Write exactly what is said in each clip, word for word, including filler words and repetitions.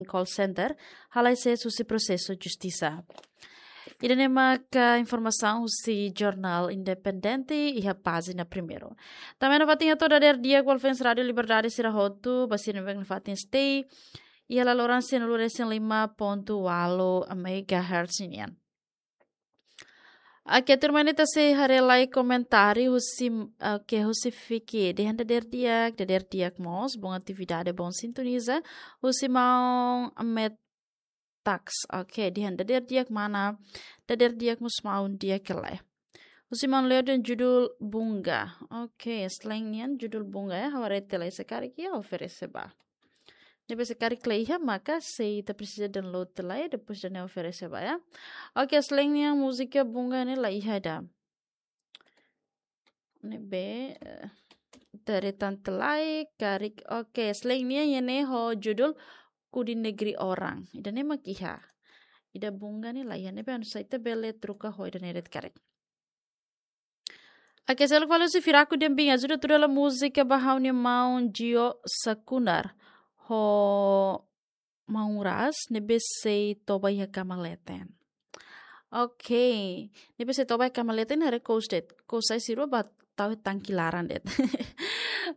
call center, halai sees husi prosesu justisa. Ida-ne'e maka informasaun husi jornál Independente iha pájina primeiru. Tanba nafatin hato'o dadeer di'ak ba fans Rádio Liberdade sira hotu, ba sira ne'ebé nafatin stay iha laloran sianulu resin lima pontu ualu megahertz nian. Oke, tuirmai ne'e ita sei haree lai komentáriu husi, oke, husi Fiki. Dehan dadeer di'ak, dadeer di'ak mós, bom atividade, bom sintoniza. Husi maun Met Tax. Oke, dehan dadeer di'ak mana, dadeer di'ak mós maun di'ak ka lae. Husi maun Leo dehan judul Bunga. Oke, selain nian judul Bunga ya, ha'u haree tiha lai se karik iha oferese ba. Ne'ebé se karik la iha maka sei ita presiza download tiha lai, depois ida-ne'e oferese ba ya. Oke, selain nian múzika Bunga ne'e la iha ida. Ne'ebé, eh, ita haree tan tiha lai, karik. Oke, selain nian iha ne'e ho judul Ku di Negeri Orang. Ida-ne'e mak iha. Ida Bunga ne'e la iha, ne'ebé anu sa ita bele troka ho ida-ne'e de'it karik. Oke, seluk fali husi Firaku dehan bin ajuda tuda la múzika ba ha'u-nia maun Jio Sakunar ho maun Ras ne'ebé sei toba iha kama leten. Oke, ne'ebé sei toba iha kama leten haree kous de'it. Kous sai sirua ba tau tangki laran de'it.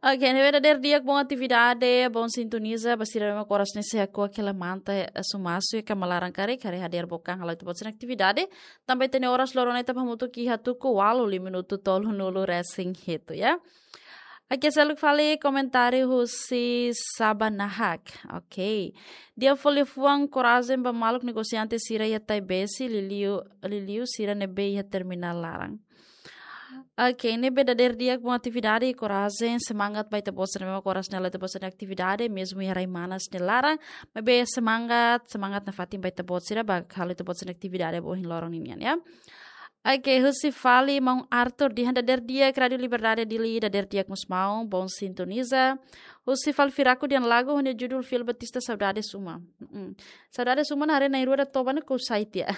Oke, ne'ebé dadeer di'ak, bom atividade, bom sintoniza, ba sira ne'ebé mak oras ne'e sei hako'ak hela manta, eh, sumasu iha kama laran karik, haree hadeer book an halo ita-boot sira-nia atividade, tanba ita-nia oras loron ne'e ita bá hamutuk iha tuku ualu liu minutu tolunulu resin hitu ya. Oke, seluk fali komentáriu husi Saba Nahak. Oke. Di'ak fó liafuan korajen ba maluk negosiante sira iha Taibesi, liuliu, liuliu sira ne'ebé iha terminál laran. Oke, ne'ebé dadeer di'ak, bom atividade, korajen, semangat ba ita-boot sira ne'ebé mak oras ne'e halo ita-boot sira-nia atividade, mezmu iha rai manas nia laran, maibé semangat, semangat nafatin ba ita-boot sira ba halo ita-boot sira-nia atividade ba ohin loron ninian ya. Oke, husi fali maun Arthur dehan dadeer di'ak Rádio Liberdade Dili, dadeer di'ak mós maun, bom sintoniza. Husi fali Firaku dehan lagu ho nia judul Fiel Batista Saudades Uma. Mm-mm. Saudades Uma ne'e haree na'in-rua ida toba ne'e kous sai tiha.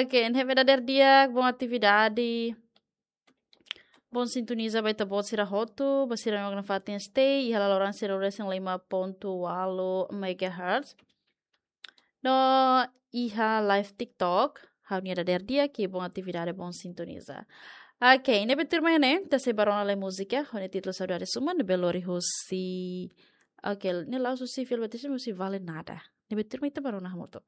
Oke, ne'ebé dadeer di'ak, bom atividade. Bom sintoniza ba ita-boot sira hotu, ba sira ne'ebé mak nafatin stay iha laloran sianulu resin lima pontu ualu megahertz. No iha live TikTok, ha'u-nia dadeer di'ak, bom atividade, bom sintoniza. Oke, ne'ebé tuirmai ne'e, ita sei bá rona lai múzika ho nia títulu Saudades Uma, ne'ebé lori husi, oke, ne'e la'ós husi Fiel Batista, husi Vale Nada. Ne'ebé tuirmai ita bá rona hamutuk.